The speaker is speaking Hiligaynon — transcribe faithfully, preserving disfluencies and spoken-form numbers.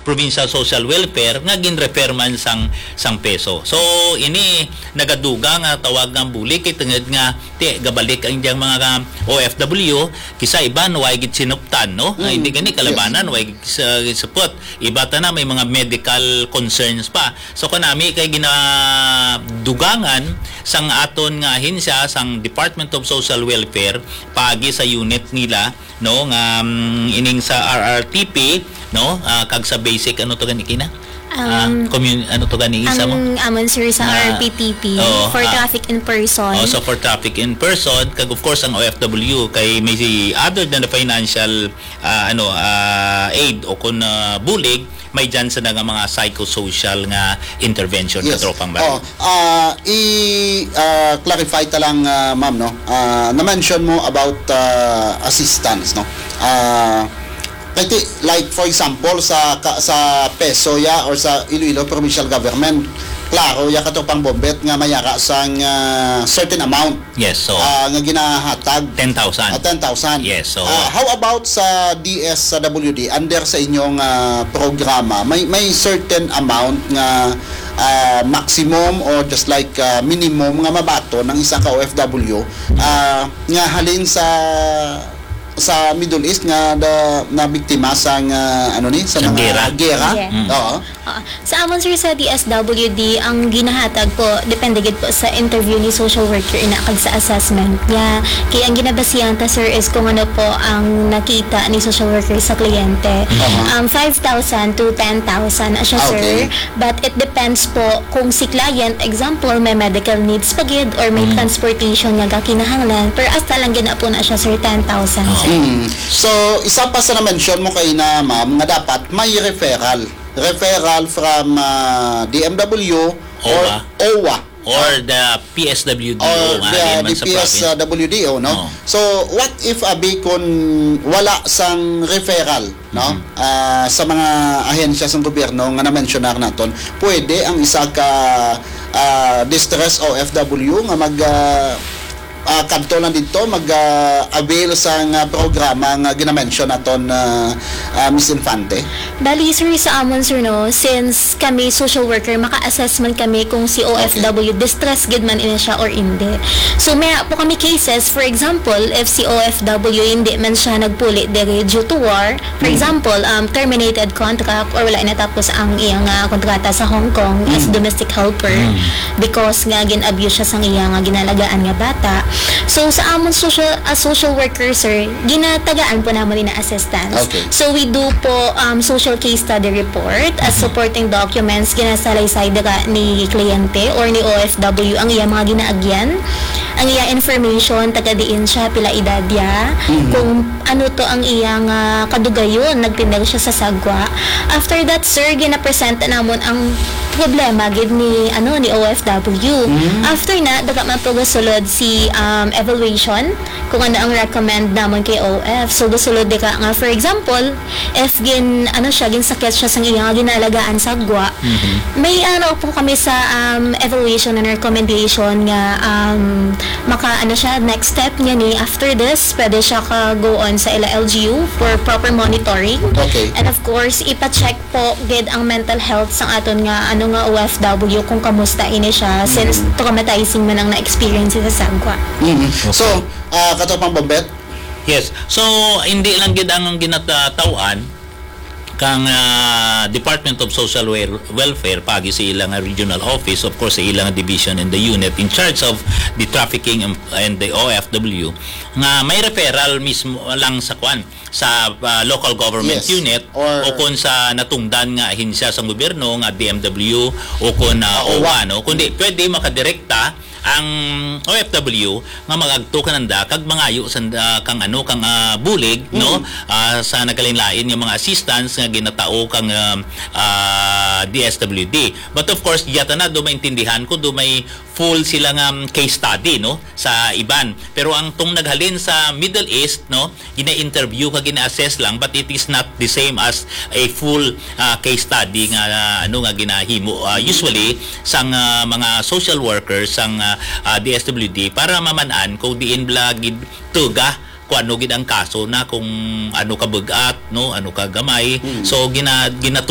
Provincial Social Welfare nga ginrefer man sang sang PESO. So, ini nagadugang nga tawag nga bulig kay tungod nga ti gabalik ang iyang mga O F W, kisa iban way gid sinuptan, no? Nga Mm. hindi gani kalabanan, Yes. way gid sa, supot. Iba ta na may mga medical concerns pa. So, kanami kay ginadugangan sang aton nga ahensya, sang Department of Social Welfare, paagi sa unit nila, no, nga, um, ining sa R R T P, no, ah, kag sa basic, ano to gani kina? Ah, Um, commun-, ano to gani isa mo? Ang amon, sir, sa Ah, R P T P, oo, for ah. traffic in person. Oh, so for traffic in person, kag of course ang O F W kay may si, other than the financial, ah, ano, ah, aid o kun, ah, bulig, may dyan sa nga mga psychosocial nga intervention, Yes. Katropang Baril. Oh, ah, i, ah, clarify ta lang, ah, ma'am, no? Ah, na-mention mo about, ah, assistance, no? Ah, kay ti-, like, for example, sa ka-, sa PESO ya or sa Iloilo Provincial Government, klaro ya, Katropang Bombet, nga mayara sang, ah, certain amount Yes, so, ah, nga ginahatag. ten thousand. Ah, ten thousand. Yes, so, Ah, how about sa D S W D, under sa inyong, ah, programa, may, may certain amount nga, ah, maximum or just like, ah, minimum nga mabaton ng isa ka O F W, ah, nga halin sa, sa Middle East nga da-, nabiktima sang, ah, ano ni, sa Sa mga gera. gera? Yeah. Mm. Oo. Ah, sa amon, sir, sa D S W D, ang ginahatag po, depende gid po sa interview ni social worker ina kag sa assessment niya. Kaya ang ginabasihan ta, sir, is kung ano po ang nakita ni social worker sa kliyente. Aha. Um, five thousand to ten thousand na siya, Ah, sir. Okay. But it depends po kung si client, example, may medical needs pa gid or may Mm. transportation nga gakinahanglan, pero hasta lang gid na po na siya, sir, ten thousand, Oo. sir. Mm. So, isa pa sa na-mention mo kaina, ma'am, nga dapat may referral. Referral from, ah, D M W or OWWA. OWWA. Or the P S W D O, Or nga the, halin man the sa province. P S W D O, no? Oo. So, what if, abi, kun wala sang referral, no? Mhm. Ah, sa mga ahensya sang gobyerno nga na-mensionar naton, pwede ang isa ka, ah, distress O F W nga mag, ah, ah, kadto lang dito, mag, ah, avail sang, ah, programa nga ginamention naton, ah, ah, Miss Infante? Bali, sir, sa amon, sir, no, since kami social worker, maka-assess man kami kung si O F W Okay. distress gid man ini siya or hindi. So, may po kami cases, for example, if si O F W hindi man siya nagpuli diri due to war, for Mm. example, um, terminated contract or wala natapos ang iyang, ah, kontrata sa Hong Kong as Mm. domestic helper Mm. because nga gin-abuse siya sang iya nga ginalagaan nga bata. So, sa amon social, as social worker, sir, ginatagaan po namon ni na assistance. Okay. So, we do po, um, social case study report as Mhm. supporting documents, ginasalaysay dira ni kliyente or ni O F W ang iya mga ginaagyan, ang iya information, taga diin siya, pila edad niya, Mhm. kung ano to ang iyang, ah, kadugayon, nagtindog siya sa sagwa. After that, sir, ginapresenta namon ang problema gid ni, ano, ni O F W. Mm. After na, daga man po gasulod si, um, evaluation, kung ano ang recommend namon kay O F. So, gasulod dira nga, for example, if gin, ano siya, ginsakit siya sa iyang ginalagaan sagwa, Mhm. may ano po kami sa, um, evaluation and recommendation nga, um, maka, ano siya, next step niya ni, after this, pwede siya ka go on sa ila L G U for proper monitoring. Okay. And of course, ipa-check po gid ang mental health sang aton nga, ano nga, O F W kung kamusta ini siya since Mhm. traumatizing man ang na-experience sa sagwa. Mhm. So, Okay. ah, Katropang Bombet? Yes. So, hindi lang gid ang ginataw-an kang, ah, Department of Social Wel-, Welfare, pagi sa ilang regional office, of course, sa ilang division and the unit in charge of the trafficking and, and the O F W, nga may referral mismo lang sa kwan, sa, ah, local government Yes. unit Or o kung sa natungdan nga ahensya sa gobyerno nga D M W o kung, ah, OWWA. OWWA, no? Kundi pwede makadirekta ang O F W nga mag-agto kananda kag mangayo sa, ah, kang ano, kang, ah, bulig, no? Mm. Ah, sa nagkalain-lain nga mga assistance nga ginatao kang, ah, ah, D S W D. But of course, diya ta na, do maintindihan ko, do may full sila nga, um, case study, no, sa iban. Pero ang tong naghalin sa Middle East, no, gina-interview ka, gina-assess lang, but it is not the same as a full, ah, case study nga, ah, ano, nga ginahimo, ah, usually sang, ah, mga social workers sang, ah, ah, D S W D para maman-an kung diin bala gid tuga kung ano gid ang kaso na, kung ano ka bug-at, no, ano ka gamay. Mm. So, gina-, gina-,